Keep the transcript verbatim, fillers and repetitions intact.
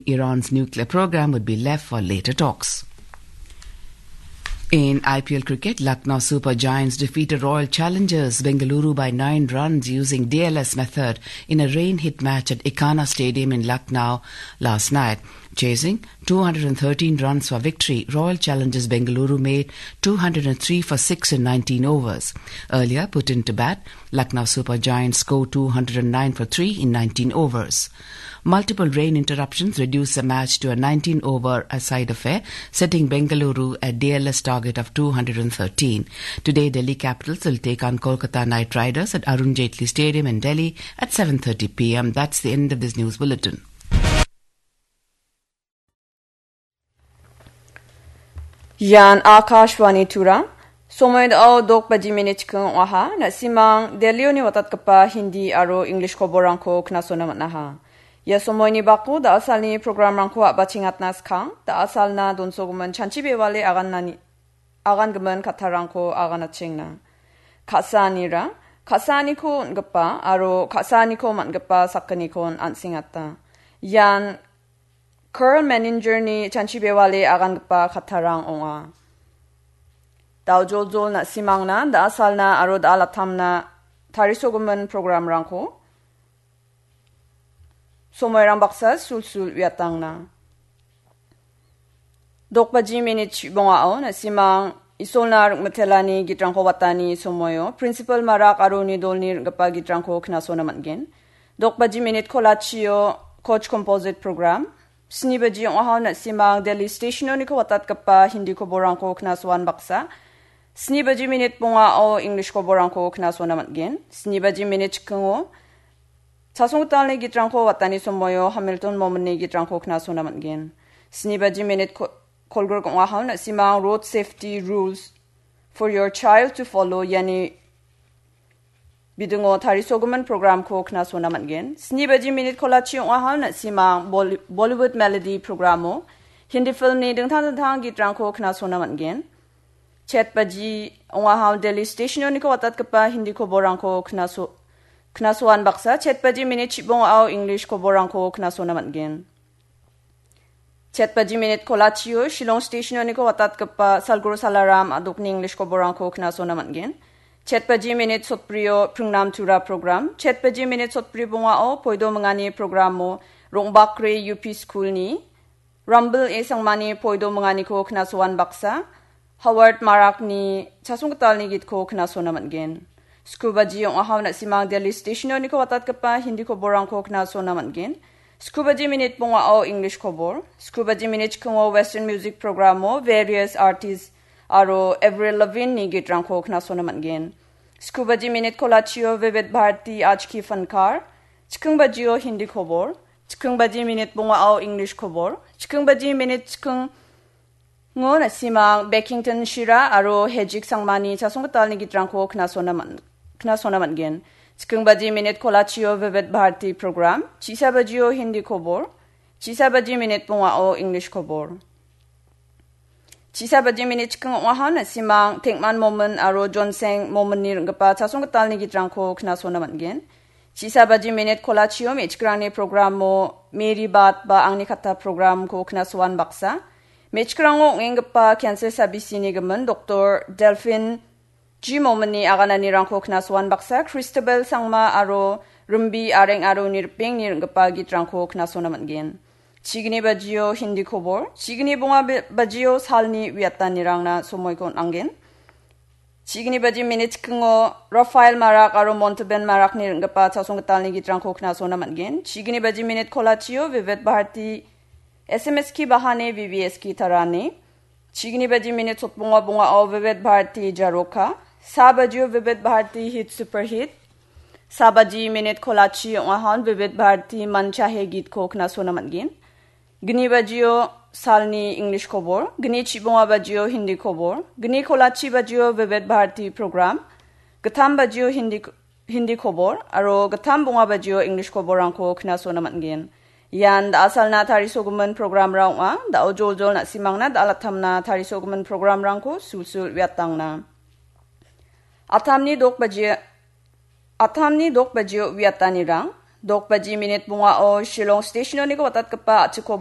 Iran's nuclear program would be left for later talks. In I P L cricket, Lucknow Super Giants defeated Royal Challengers Bengaluru by nine runs using D L S method in a rain-hit match at Ikana Stadium in Lucknow last night. Chasing two hundred thirteen runs for victory, Royal Challengers Bengaluru made two hundred three for six in nineteen overs. Earlier put into bat, Lucknow Super Giants scored two hundred nine for three in nineteen overs. Multiple rain interruptions reduced the match to a nineteen-over a-side affair, setting Bengaluru a D L S target of two hundred thirteen. Today, Delhi Capitals will take on Kolkata Knight Riders at Arun Jaitley Stadium in Delhi at seven thirty p m. That's the end of this news bulletin. Ian Akashvani Tura. Somoi dao dok baji minit chikeng ong·aha. Na·simang Delhi-oni watatgipa Hindi aro English koborangko knasona man·aha. Ia somoini bako da·asalni programrangko a·bachengatna skang, da·asalna donsogimin chanchi bewale aganani, agangimin kattarangko aganachengna. Ka·saanira, ka·saaniko on·gipa aro ka·saaniko man·gipa sakgnikon an·sengata. Ian Curl Manager-ni chanchi bewale agangipa kattarang ong·a. Daojoljol na·simangna, da·asalna aro da·alatamna tarisogimin programrangko somoirang baksa sulsul uiatangna. Dok baji minit chibongao na·simang Isolna ring·mitelani gitrangko watani somoio Principal Marak aro uni dolni ring·gipa gitrangko knasona man·gen. Dok baji minit kolachio Koch Composite Program, sni baji ong·aha na·simang Delhi Station-oniko watatgipa Hindi koborangko knasoan baksa, sni baji minit bongao English koborangko knasona man·gen. Sni baji minit chikingo Chasonggitalni gitrangko watani somoio Hamilton Mominni gitrangko knasona man·gen. Sni baji minit ko-, kolgrik ong·aha na·simang Road Safety Rules for Your Child to Follow iani bidingo tarisogimin programko knasona man·gen. Sni baji minit kolachi ong·aha na·simang Bolly-, Bollywood Melody programo Hindi filmni dingtang dingtang gitrangko knasona man·gen. Chet baji ong·aha Delhi Station-oniko watatgipa Hindi koborangko knaso-, knasoan baksa, chet baji minit chibongao English koborangko knasona man·gen. Chet baji minit kolachio Shillong Station-oniko watatgipa Salguru Salaram a·dokni English koborangko knasona man·gen. Chet baji minit sotbrio Pringnam Tura program. Chet baji minit sotbri bongao Poido Mingani programo Rongbakri U P School-ni Rambal A Sangmani Poido Minganiko knasoan baksa, Howard Marakni Chasonggitalni gitko knasona man·gen. Sku baji ong·aha na·simang Delhi Station-oniko watatgipa Hindi koborangko knasona man·gen. Sku baji minit bongao English kobor. Sku baji minit chikingo Western Music programo various artists aro Avril Lavigne-ni gitrangko knasona man·gen. Sku baji minit kolachio Vivid Bharati Aaj Ki Fankar. Chiking bajio Hindi kobor. Chiking baji minit bongao English kobor. Chiking baji minit chikingo na·simang Beckington Shira aro Hejik Sangmani Chasonggitalni gitrangko knasona man-, knasona man·gen. Chiking baji minit kolachio Vivid Bharati program. Chisa bajio Hindi kobor. Chisa baji minit bongao English kobor. Chisa baji minit chiking ong·aha na·simang Tengman Momin aro Jonseng Mominni ring·gipa Chasonggitalni gitrangko knasona man·gen. Chisa baji minit kolachio me·chikrangni programo Mary Bat ba Angni Katta programko knasoan baksa. Me·chikrango ong·enggipa cancer sabisini gimin Doktor Delphine G Mominni agananirangko knasoan baksa, Christabel Sangma aro Rimbi Areng aro uni ripengni ring·gipa gitrangko knasona man·gen. Chigni bajio Hindi kobor, chigni bonga be-, bajio salni uiatanirangna somoiko on·angen. Chigni baji minit chikingo Rafael Marak aro Monteben Marakni ring·gipa Chasonggitalni gitrangko knasona man·gen. Chigni baji minit kolachio Vivid Bharati S M S ki bahane V V S ki tarane. Chigni baji minit sotbonga bongao Vivid Bharati Jaroka. Sa bajio Vivid Bharati Hit Super Hit. Sa baji minit kolachi ong·ahan Vivid Bharati Manchahe gitko knasona man·gen. Gni bajio salni English kobor. Gni chibonga bajio Hindi kobor. Gni kolachi bajio Vivid Bharati program. Gittam bajio Hindi Hindi kobor aro gittam bonga bajio English koborrangko knasona man·gen. Ian da·asalna tarisogimin programrang ong·a. Da·o joljol na·simangna da·alatamna tarisogimin programrangko sulsul uiatangna. Atamni dok baji, atamni dok bajio uiatanirang. Dok baji minit bongao Shillong Station-oniko watatgipa a·chik kobor